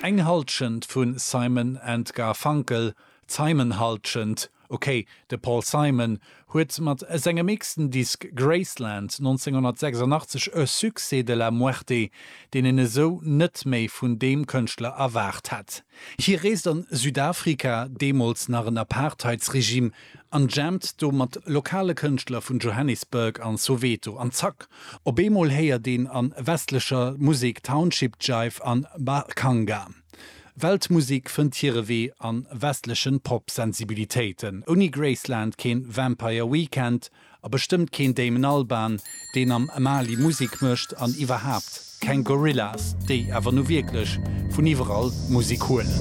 Eng Halschent vu Simon and Garfunkel, d'Simon Halschent, ok, de Paul Simon huet mat sengem échsten Disk Graceland 1986 e Succès de la muerte, deen een esou net méi vun deem Kënschtler erwaart hätt. Hie reest an Südafrika, deemools nach en Apartheidsregime, an jammt do mat lokale Kënschtler vun Johannesburg an Soweto an zack, op eemol héiert een an westlecher Musek Township Jive an Mbaqanga. Weltmusek fënnt hire Wee an westlechen Pop-Sensibilitéiten. Ouni Graceland keen Vampire Weekend a bestëmmt keen Damon Albarn, deen am Mali Musek mécht an iwwerhaapt keng Gorillaz, déi awer nu wierklech vun iwwerall Musek huelen.